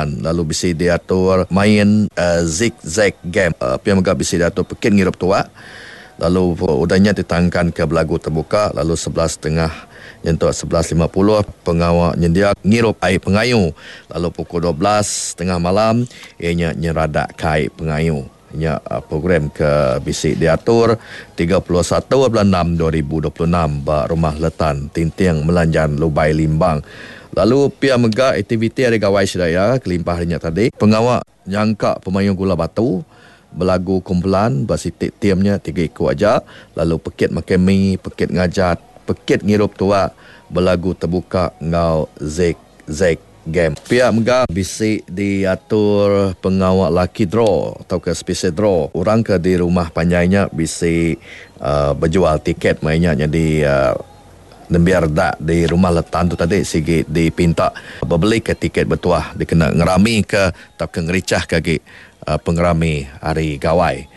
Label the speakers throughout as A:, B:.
A: Lalu bisi diatur main zig zag game. Pia mega bisi diatur pekit ngirup tuak. Lalu udah nya ditangkanka belagu tebuka lalu 11 setengah nyentuk 11.50 pengawa nyendia ngirup ai pengayu. Lalu pukul 12 setengah malam iya nya nyeradak ka ai pengayu. Nya program ke bisi diatur 31 bulan 6 2026 ba Rumah Letan Tinting Melanjan Lubai Limbang. Lalu pia mega aktiviti hari gawai sida iya kelimpah hari nya tadi pengawa nyangka pemayuh gula batu, belagu kumpulan ba siti tim nya tiga iku aja lalu pekit makai mi, pekit ngajat, pekit ngirup tuak, belagu tebuka enggau zig zag game. Pia mega bisi diatur pengawa lucky draw tauka special draw. Orang ke di rumah panjai nya bisi bejual tiket maya nya nyadi nembiak redak di Rumah Letan tu tadi sigi dipinta bebelika tiket betuah dikena ngeramika tauka ngerichahka agi pengerami Hari Gawai.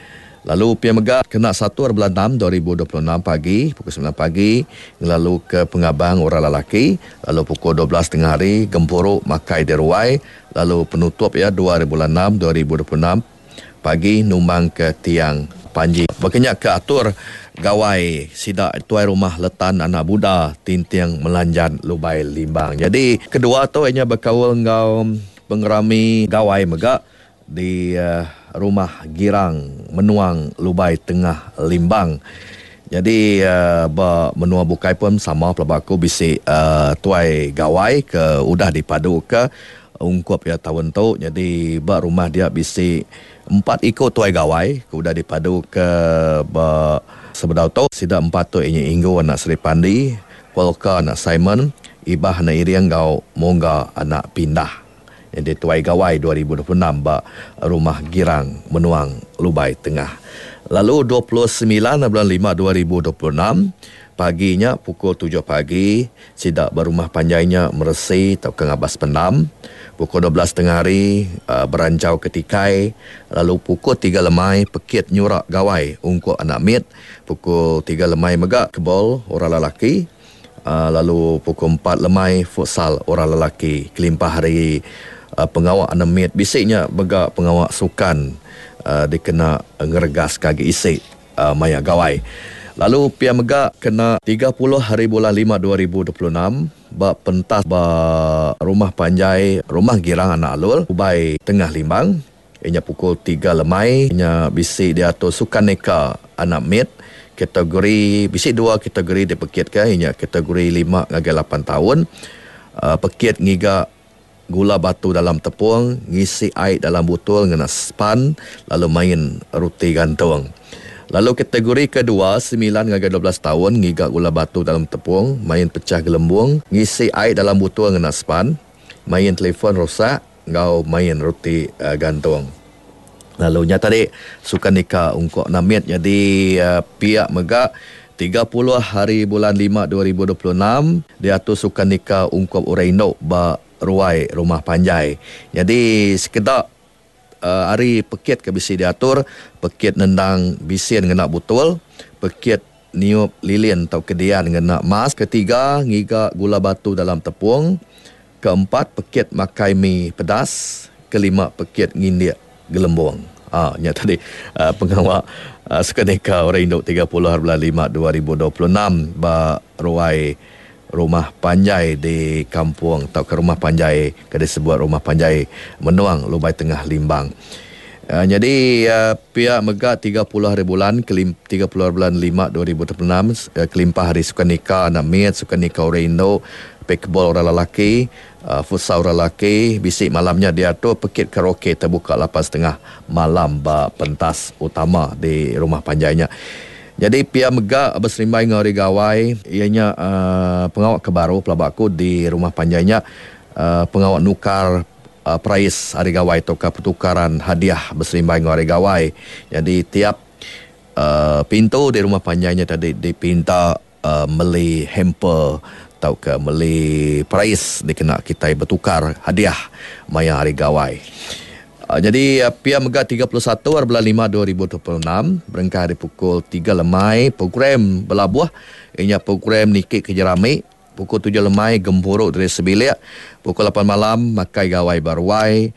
A: Lalu pia mega kena 1 bulan 6 2026 pagi pukul 9 pagi ngelaluka pengabang orang lelaki lalu pukul 12 tengah hari gempuru makai di ruai lalu penutup iya 2 bulan 6 2026 pagi numbangka tiang panji. Baka nya ke atur gawai sida tuai rumah Letan Anak Buda Tinting Melanjan Lubai Limbang. Nyadi kedua tu iya nya bekaul enggau pengerami gawai mega di Rumah Girang Menuang Lubai Tengah Limbang. Nyadi ba menua bukai pun sama pelaba aku bisi tuai gawai ke udah dipaduka ungkup iya taun tu. Nyadi ba rumah dia bisi empat iku tuai gawai ke udah dipaduka ba sebedau tu. Sida empat tu iya nya Inggu anak Sri Pandi, Polka anak Simon, Ibah anak Iring enggau Mongga anak Pindah. Nyadi Tuai Gawai 2026 ba Rumah Girang Menuang Lubai Tengah. Lalu 29 bulan 5 2026 pagi nya pukul 7 pagi sida ba rumah panjai nya meresi tauka ngabas pendam. Pukul 12 tengah hari beranchau ke tikai lalu pukul 3 lemai pekit nyura gawai ungkup anak mit. Pukul 3 lemai mega kebol orang lelaki. Lalu pukul 4 lemai futsal orang lelaki kelimpah ari pengawa anemit bisi nya mega pengawa sukan dikena ngeregaska agi isi maya gawai. Lalu pia mega kena 30 hari bulan 5 2026 ba pentas ba rumah panjai Rumah Girang Anak Alul Ubai Tengah Limbang iya nya pukul 3 lemai nya bisi diatur sukaneka anak mit kategori bisi dua kategori dipekitka iya nya kategori 5 ngagai 8 taun pekit ngiga gula batu dalam tepung ngisi ai dalam butul ngena span lalu main ruti gantung. Lalu kategori kedua 9 ngagai 12 taun ngiga gula batu dalam tepung main pecah gelembung ngisi ai dalam butul ngena span main telefon rosak enggau main ruti gantung. Lalu nya tadi sukaneka ungkup namit nyadi piak mega 30 hari bulan 5 2026 diatur sukaneka ungkup orang indu ba ruai rumah panjai. Nyadi sekeda ari pekit ke bisi diatur pekit nendang bisin ngena butul, pekit niup lilin tauka dian ngena mas, ketiga ngiga gula batu dalam tepung, keempat pekit makai mi pedas, kelima pekit ngindik gelembung. Nya tadi pengawa sukaneka orang indu 30 hari bulan 5 2026 ba ruai rumah panjai di kampung tauka rumah panjai ke disebut Rumah Panjai Menuang Lubai Tengah Limbang. Nyadi pia mega 30 hari bulan 30 hari bulan 5 2026 kelimpah hari sukaneka anak mit, sukaneka orang indu, pickleball orang lelaki, futsal orang lelaki bisi malam nya diatur pekit karaoke terbuka 8.30 malam ba pentas utama di rumah panjai nya. Nyadi pia mega beserimbai enggau hari gawai iya nya pengawa ke baru pelaba aku di rumah panjai nya pengawa nukar perais hari gawai tauka pertukaran hadiah beserimbai enggau hari gawai. Nyadi tiap pintu di rumah panjai nya tadi dipinta meli hamper tauka meli perais dikena kitai betukar hadiah maya hari gawai. Nyadi pia mega 31 hari bulan 5 2026 berengkah ari pukul 3 lemai program belabuh iya nya program niki ke jerami pukul 7 lemai gempuru diri sebilik pukul 8 malam makai gawai ba ruai.